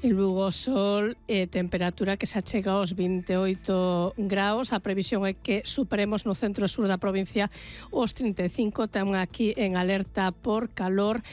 En Lugo sol e temperatura que se achega aos 28 graus. A previsión é que superemos no centro e sur da provincia os 35. Temos aquí en alerta por calor.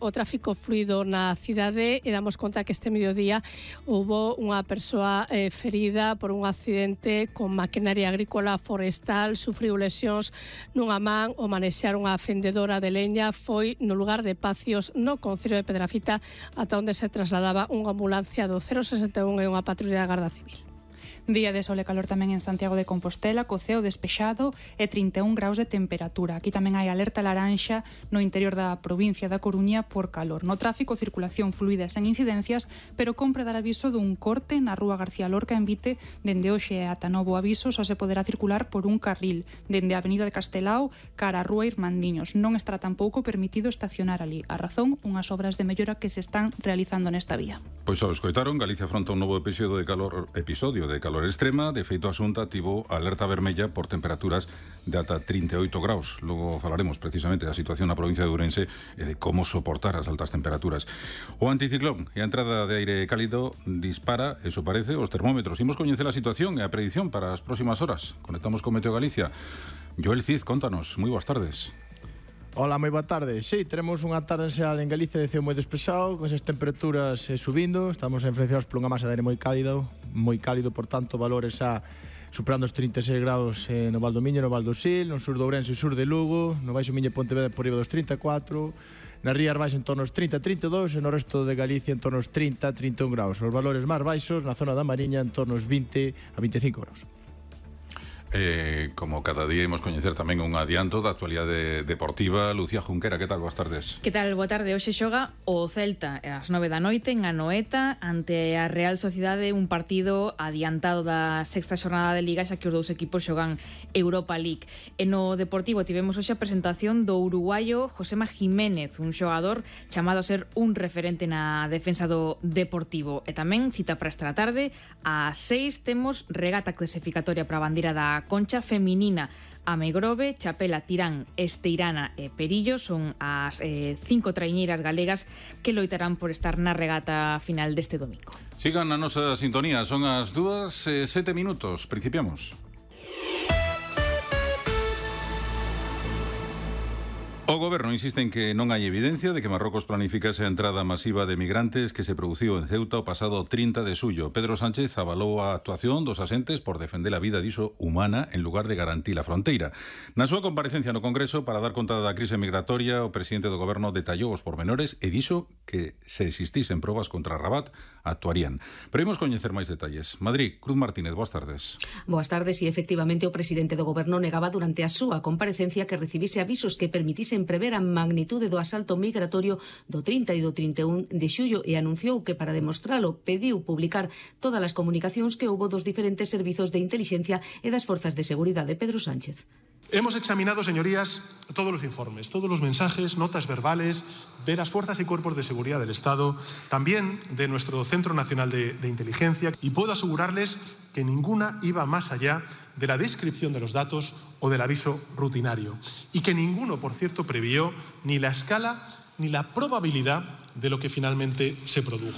O tráfico fluido na cidade, e damos conta que este mediodía houbo unha persoa ferida por un accidente con maquinaria agrícola forestal. Sufriu lesións nunha man o manexar unha fendedora de leña. Foi no lugar de Pacios, no concello de Pedrafita, ata onde se trasladaba unha ambulancia do 061 e unha patrulla da Garda Civil. Día de sol e calor tamén en Santiago de Compostela, co ceo despexado e 31 graus de temperatura. Aquí tamén hai alerta laranxa no interior da provincia da Coruña por calor. No tráfico, circulación fluida sen incidencias, pero compre dar aviso dun corte na rúa García Lorca en Vite. Dende hoxe ata novo aviso só se poderá circular por un carril dende a avenida de Castelao cara a rúa Irmandiños. Non estará tampouco permitido estacionar ali. A razón, unhas obras de mellora que se están realizando nesta vía. Pois ao escoitaron, Galicia afronta un novo episodio de calor extrema. De feito, a Xunta tivo alerta vermella por temperaturas de ata 38 graus. Logo falaremos precisamente da situación na provincia de Ourense e de como soportar as altas temperaturas. O anticiclón e a entrada de aire cálido dispara, eso parece, os termómetros. Imos coñecer a situación e a predición para as próximas horas. Conectamos con Meteo Galicia. Joel Cid, contanos. Moi boas tardes. Hola, moi boa tarde. Sí, tenemos unha tarde en xeral en Galicia de ceo moi despexado, con esas temperaturas subindo. Estamos influenciados por unha masa de aire moi cálido, por tanto, valores superando os 36 graus no Val do Miño, no Val do Sil, no sur do Ourense e sur de Lugo, no Baixo Miño e Pontevedra por riba dos 34, na Rías Baixas en torno aos 30-32 e no resto de Galicia en torno aos 30-31 graus. Os valores máis baixos na zona da Mariña en torno aos 20 a 25 graus. Como cada día imos coñecer tamén un adianto da actualidade deportiva. Lucía Junquera, que tal? Boas tardes. Que tal? Boa tarde. Hoxe xoga o Celta ás 9 da noite en Anoeta ante a Real Sociedade, un partido adiantado da sexta xornada de Liga, xa que os dous equipos xogan Europa League. E no Deportivo tivemos hoxe a presentación do uruguayo Josema Jiménez, un xogador chamado a ser un referente na defensa do Deportivo. E tamén cita para esta tarde ás 6 temos regata clasificatoria para a bandeira da Concha feminina. A Megrove, Chapela, Tirán, Esteirana e Perillo son as 5 traiñeiras galegas que loitarán por estar na regata final deste domingo. Sigan a nosa sintonía, son as 2:07. Principiamos. O Goberno insiste en que non hai evidencia de que Marrocos planificase a entrada masiva de migrantes que se produciu en Ceuta o pasado 30 de xullo. Pedro Sánchez avalou a actuación dos asentes por defender a vida diso humana en lugar de garantir a fronteira. Na súa comparecencia no Congreso para dar conta da crise migratoria, o presidente do Goberno detallou os pormenores e dixo que se existisen probas contra Rabat, actuarían. Pero imos coñecer máis detalles. Madrid, Cruz Martínez, boas tardes. Boas tardes, e efectivamente o presidente do Goberno negaba durante a súa comparecencia que recibise avisos que permitisen prever a magnitude do asalto migratorio do 30 e do 31 de xullo e anunciou que para demostralo pediu publicar todas as comunicacións que houbo dos diferentes servizos de intelixencia e das forzas de seguridade. Pedro Sánchez. Hemos examinado, señorías, todos los informes, todos los mensajes, notas verbales de las fuerzas y cuerpos de seguridad del Estado, también de nuestro Centro Nacional de Inteligencia, y puedo asegurarles que ninguna iba más allá de la descripción de los datos o del aviso rutinario, y que ninguno, por cierto, previó ni la escala ni la probabilidad de lo que finalmente se produjo.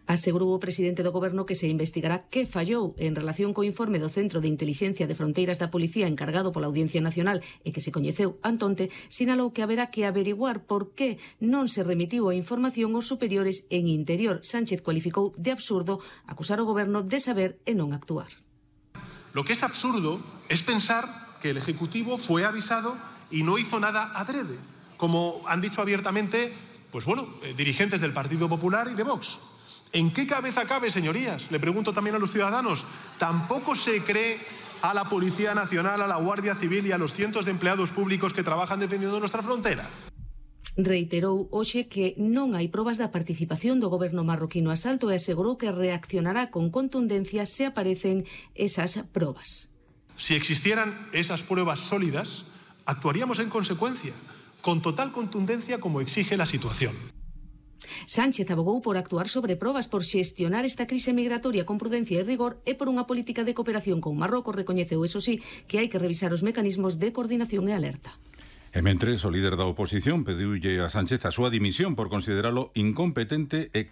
Asegurou o presidente do Goberno que se investigará que fallou en relación co informe do Centro de Intelixencia de Fronteiras da Policía encargado pola Audiencia Nacional e que se coñeceu antonte. Sinalou que haberá que averiguar por que non se remitiu a información aos superiores en Interior. Sánchez cualificou de absurdo acusar o Goberno de saber e non actuar. Lo que es absurdo es pensar que el Ejecutivo fue avisado y no hizo nada adrede, como han dicho abiertamente, dirigentes del Partido Popular y de Vox. ¿En qué cabeza cabe, señorías? Le pregunto también a los ciudadanos. ¿Tampoco se cree a la Policía Nacional, a la Guardia Civil y a los cientos de empleados públicos que trabajan defendiendo nuestra frontera? Reiterou hoxe que non hai probas da participación do goberno marroquino no asalto e asegurou que reaccionará con contundencia se aparecen esas probas. Si existieran esas pruebas sólidas, actuaríamos en consecuencia, con total contundencia como exige la situación. Sánchez abogou por actuar sobre probas, por xestionar esta crise migratoria con prudencia e rigor e por unha política de cooperación con Marrocos. Recoñeceu, eso sí, que hai que revisar os mecanismos de coordinación e alerta. E mentres, o líder da oposición pediulle a Sánchez a súa dimisión por consideralo incompetente e